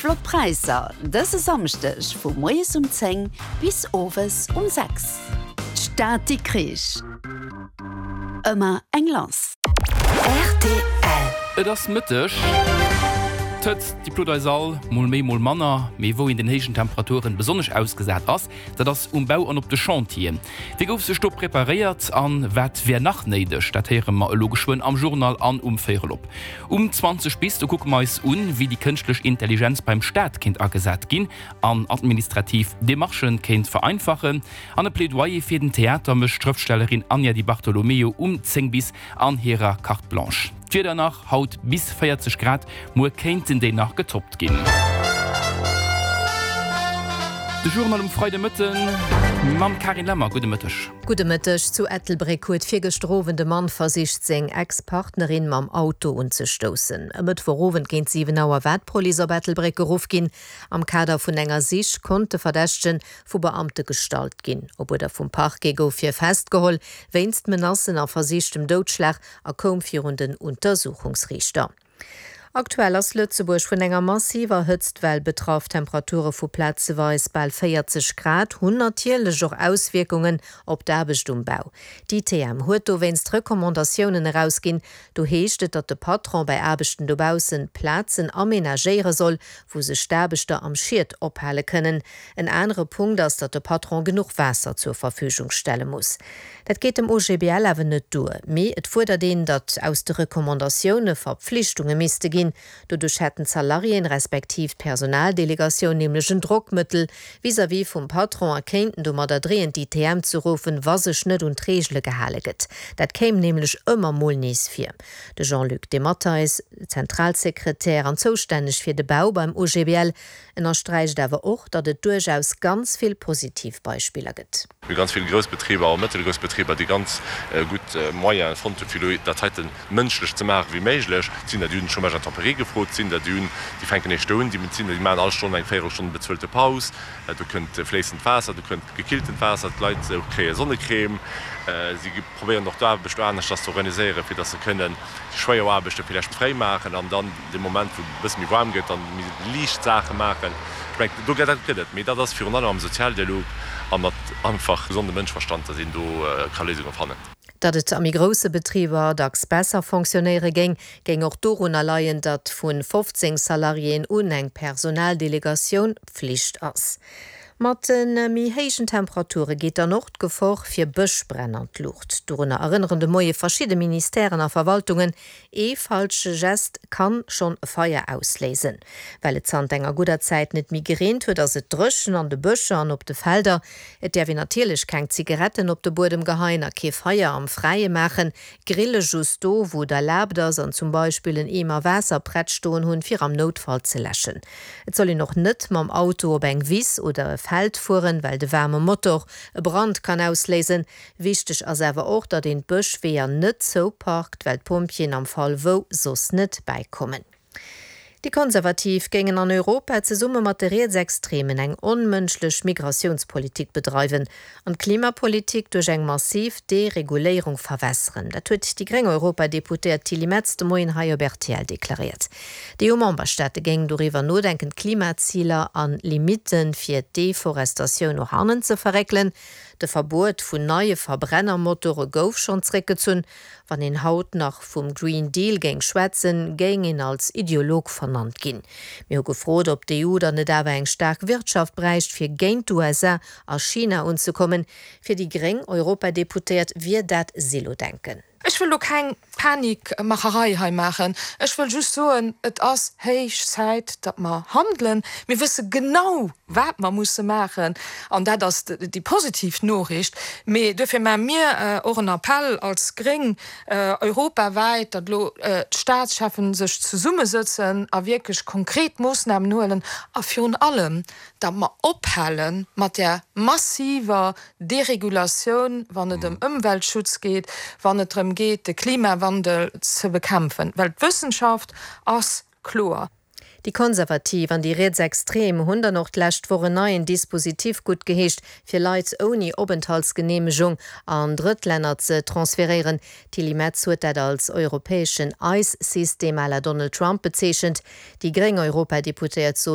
flott Präisser dëse Samschdeg vu moies um 10 bis owes um 6. D'Stad Dikrich, ëmmer eng lass. Rtl. Et ass Mëtteg. D'Hëtzt, déi plot eis all, mol méi, mol manner. Mee wou een den héijen Temperaturen besonnesch ausgesat ass, dat ass um Bau an op de Chantieren. Wéi gouf sech do preparéiert an wat wär nach néideg? Dat héiere mer elo geschwënn am Journal an um Véierel op. Um 20 bis, do kucke mer eis un, wéi déi kënschtlech Intelligenz beim Staat kéint agesat ginn an administrativ Demarchen kéint vereinfachen. An e Plädoyer fir den Theater mécht d'Schrëftstellerin Anja Di Bartolomeo um 10 bis an hirer Carte Blanche. D'Wieder nach, haut bis 40 Grad, muer kéinten déi nach getoppt ginn. De Journal um Freidemëtten mam Carine Lemmer. Gudde Mëtteg. Gudde Mëtteg. Zu Ettelbréck huet virgëschter Owend e Mann versicht, seng Ex-Partnerin mam Auto unzestoussen. E Mëttwochowend géint 7 Auer war d'Police op Ettelbréck geruff ginn. Am Kader vun enger Sich konnt de Verdächtege vu Beamte gestallt ginn. Op Uerder vum Parquet gouf hie festgeholl wéinst Menacen a versichtem Doudschlag a koum virun den Untersuchungsriichter. Aktuell ass Lëtzebuerg vun enger massiver Hëtztwell betraff. Temperature vu plazeweis bal 40 Grad hunn natierlech och Auswierkungen op d'Aarbecht um Bau. D'ITM huet dowéinst Recommandatiounen erausginn. Do heescht et, datt de Patron bei Aarbechten dobaussen Plazen amenagéiere soll, wou sech d'Aarbechter am Schiet ophale kënnen. En anere Punkt ass, datt de Patron genuch Waasser zur Verfügung stelle muss. Dat geet dem OGBL awer net duer, mee et fuerdert een, datt aus de Recommandatioune Verpflichtunge misste ginn. Doduerch hätten d'Salariéen, respektiv d'Personaldelegatioun nämlech en Drockmëttel vis-à-vis vum Patron a kéinten domadder dreeën d'ITM ze ruffen, wa sech net un d'Reegele gehale gëtt. Dat kéim nämlech ëmmer mol nees vir. De Jean-Luc Dematteis, Zentralsekretär an zoustänneg fir de Bau beim OGBL, Ënnersträicht awer och, datt et duerchaus ganz vill positiv Beispiller gëtt. Mir hu ganz vill grouss Betriber a mëttelgrouss Betriber, déi ganz gutt Moyene fonnt hunn, fir elo dat heite mënschlech ze maachen wéi méiglech. Et sinn der, déi hunn den Chômage intempéré gefrot, et sinn der, déi hunn, déi fänken eréischt do un, déi sinn der, déi maachen all Stonn eng Véierelstonn bezuelte Paus. Do kënnt fléissend Waasser, do kënnt gekilltent Waasser, d'Leit kréie Sonnecrème. Si probéieren och d'Aarbecht aneschters ze organiséieren, fir datt se kënnen déi schwéier Aarbechte villäicht fréi maachen an dann dee Moment, wou et e bësse méi waarm gëtt, dann méi liicht Saache maachen. Ech mengen, do dat gëtt et. Mee dat ass virun allem am Sozialdialog a mat einfach gesondem Mënschverstand, datt een do ka Léisunge fannen. Datt et a méi grousse Betriber dacks besser fonctionnéiere géing, géing och dorunner leien, datt vu 15 Salariéen un eng Personaldelegatioun Pflicht ass. Mat de méi héijen Temperature geet dann och d'Gefor fir Bëschbränn an d'Luucht. Dorunner erënneren de Moie verschidde Ministèren a Verwaltungen. Ee falsche Gest kann schonn e Feier ausléisen. Well et zanter enger gudder Zäit net méi gereent huet, ass et dréchen an de Bëscher an op de Felder. Et däerf een natierlech keng Zigaretten op de Buedem geheien a kee Feier am Fräie maachen. Grille just do, wou et erlaabt ass an zum Beispill en Eemer Waasser prett stoen hunn, fir am Noutfall ze läschen. Et soll een och net mam Auto op eng Wiss oder e Feld fueren, well de waarme Motor e Brand kann ausléisen. Wichteg ass awer och, datt een d'Bëschweeër net zouparkt, well d'Pompjeeën am Fall wou soss net bäikommen. Déi Konservativ géingen an Europa zesumme mat de Rietsextremen eng onmënschlech Migratiounspolitik bedreiwen an d'Klimapolitik duerch eng massiv Dereguléierung verwässeren. Dat huet déi gréng Europadeputéiert Tilly Metz de Moien hei op rtl deklaréiert. D'EU-Memberstaate géingen doriwwer nodenken, d'Klimaziler an Limitte fir d'Deforestatioun no hannen ze verréckelen. De Verbuet vun neie Verbrennermotore gouf schonn zréckgezunn. Wann een haut nach vum Green Deal géing schwätzen, géing een als Ideolog vernannt ginn. Mir hu gefrot, ob d'EU dann net awer eng staark Wirtschaft bräicht, fir géint d'USA a China unzekommen. Fir déi gréng Europadeputéiert wier dat Silodenken. Ech wëll elo keng Panikmacherei hei maachen. Ech wëll just soen, et ass héich Zäit, datt mer handelen. Mir wësse genau, wat mer musse maachen, an dat ass déi positiv Noriicht. Mee duerfir maache mir och en Appell als Gréng europawäit, datt elo d'Staatscheffen sech zesummesëtzen a wierklech konkret Moossnamen huelen a virun allem, datt mer ophale mat där massiver Deregulatioun, wann et ëm Ëmweltschutz geet, wann et drëm geet, de Klimawandel ze bekämpfen, well d'Wëssenschaft ass kloer. Déi Konservativ an déi Rietsextrem hunn dann och d'lescht Woch en neien Dispositif guttgeheescht, fir Leit ouni Openthaltsgeneemegung an Drëttlänner ze transferéieren. D'Tilly Metz huet dat als europäeschen ICE-System à la Donald Trump bezeechent. Déi gréng Europadeputéiert sot.